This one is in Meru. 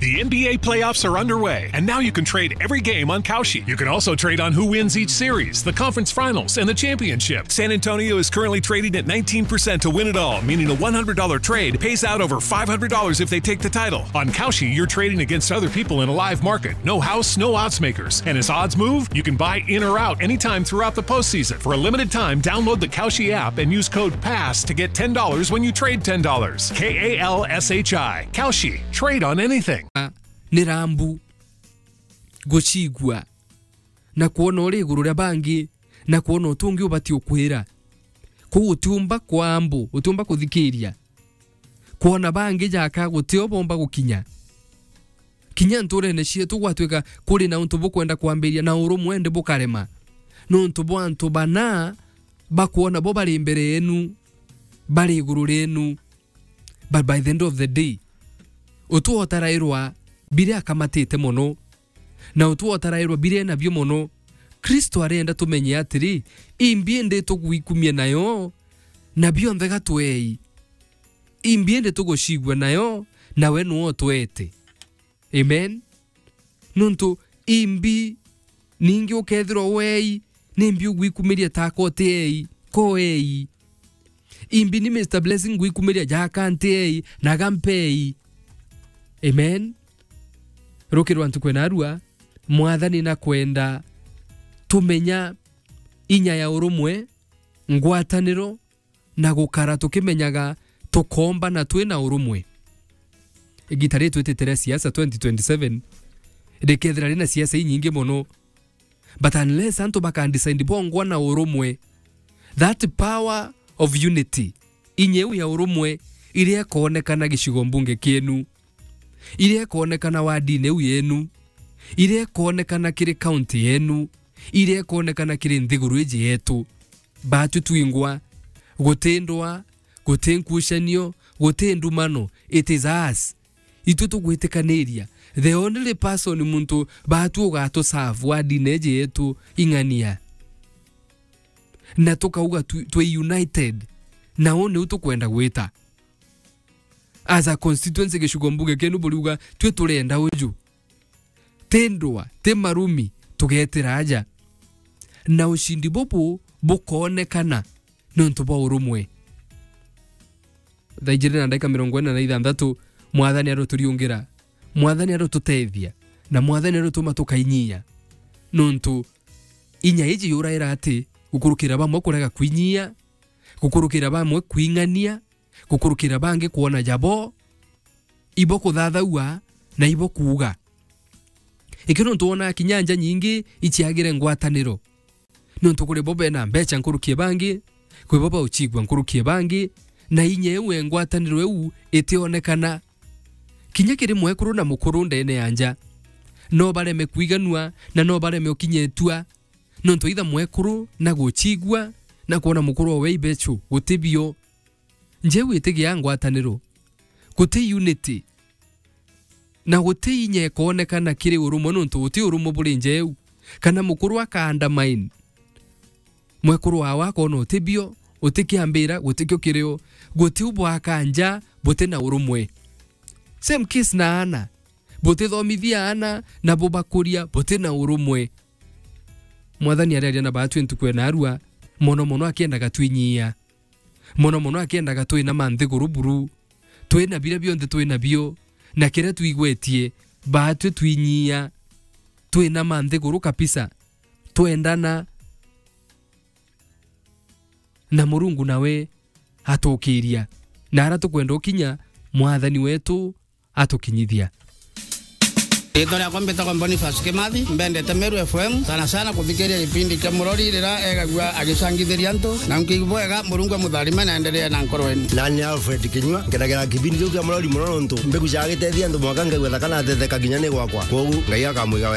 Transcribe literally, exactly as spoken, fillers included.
The N B A playoffs are underway, and now you can trade every game on Kalshi. You can also trade on who wins each series, the conference finals, and the championship. San Antonio is currently trading at nineteen percent to win it all, meaning a one hundred dollar trade pays out over five hundred dollars if they take the title. On Kalshi, you're trading against other people in a live market. No house, no odds makers. And as odds move, you can buy in or out anytime throughout the postseason. For a limited time, download the Kalshi app and use code pass to get ten dollars when you trade ten dollars. K A L S H I. Kalshi. Trade on anything. Ni rambu gucigua na kwona uri iguru ria bangi na kwona utungi ubati ukwira. Kuu utiumba kwambu, utiumba kuthikiria. Kwona bangi jaka gutio bomba gukinya. Kinya nturene cietu gwatwika kuri na untu bukwenda kwambiria na urumwe ndi bukarema. Nuntu bwa antu bana bakwona bo bari mbere yenu, bari iguru rienu. But by the end of the day, utu otarairwa biria akamatite mono, na utu otarairwa biria enabio mono. Kristo arenda tumenye atiri, imbi indi tugwikumia nayo, na bionthe gatwei. Imbi indi tugucigua nayo, nawe nuwe utwete. Amen. Nuntu imbi ningi ukethirwa wei, nimbi ugwikumiria taka utiei, koei. Imbi ni Mister Blessing ngwikumiria jaka ntiei, na gampei. Amen. Rukirwa ntuku ena arua, Mwathani na kwenda tumenya inya ya urumwe, ngwataniro, na gukara tukimenyaga tukombana twi na urumwe. Igita ri twitite ria siasa twenty twenty-seven rikethira rina siasa inyingi mono, but unless antu bakandecide bongwa na urumwe, that power of unity, inya iu ya urumwe iria ikoonekana gicigo mbunge kienu, iria ikoonekana wardini iu yenu, iria ikoonekana kiri county yenu, iria ikoonekana kiri nthiguru iji yetu. Baatu twingwa, guti ndwa, guti nkucanio, guti ndumano. It is us. Itu tugwitikaniria. The only person muntu baatu ugatuserve wardini iji yetu ing'ania. Na tukauga tu-, twi united. Na uu niu tukwenda gwita. As a constituency, gicigo mbunge kienu buriuga, twi turenda uju. Ti ndwa, ti marumi, tugetira aja. Na ucindi bubu bukoonekana niuntu bwa urumwe. Thaa ijiri na ndagika mirongo ina na ithanthatu, Mwathani aruturiungira, Mwathani arututethia, na Mwathani arutuma tukainyia. Niuntu inya iji yuraira ati gukurukira bamwe kurega kwinyia, gukurukira bamwe kwing'ania, gukurukira bangi kwona jabo, ibo kuthathaua na ibo kuuga. Iki nontu wonaa kinya nja nyingi iciagire ngwataniro. Nontu kuri bo bena mbeca nkuruki e bangi, kwi bo bauchigua nkuruki e bangi, na inya iu e ngwataniro iu itionekana. Kinya kiri mwekuru na mukuru ndene ya nja, no bareme kwiganua na no bareme ukinya itua, nontu itha mwekuru na guchigua na kwona mukuru owe ibechu guti bio. Njeu itigia ngwataniro. Guti unity. Na guti inya ikoonekana kiri urumwe, nontu guti urumwe buri njeu. Kana mukuru aka undermine mwekuru wawe, akona uti bio, uti kiambira, guti kio kirio. Guti u bwaka nja buti na urumwe. Same case na aana. Butithomithia aana na bubakuria buti na urumwe. Mwathani arearia na baatwi ntuku ena arua, mono mono akiendaga twinyia. Mono mono akiendaga twina manthiguru buru, twina biria bionthe twina bio, na kiria twigwetie, baatwi twinyia, twina manthiguru kabisa, twendana, na Murungu nawe atukiria. Na ara tukwenda ukinya, Mwathani wetu atukinyithia. Riitwa riakwa mbitagwa Boniface Kimathi, mbendete Meru F M, sana sana kuthikiria gipindi kia Murori riria egagua agicangithiria antu, na nkiigua bwega, Murungu amutharime na endelee na nkoro yenu. Nani Alfred Kinyua, nkenagera kipindi kiu kia Murori mono nontu mbegu ciagitethia antu mwaka ngaigua thaka natetheka kinya ni gwakwa. Kwogu Ngai akamwiga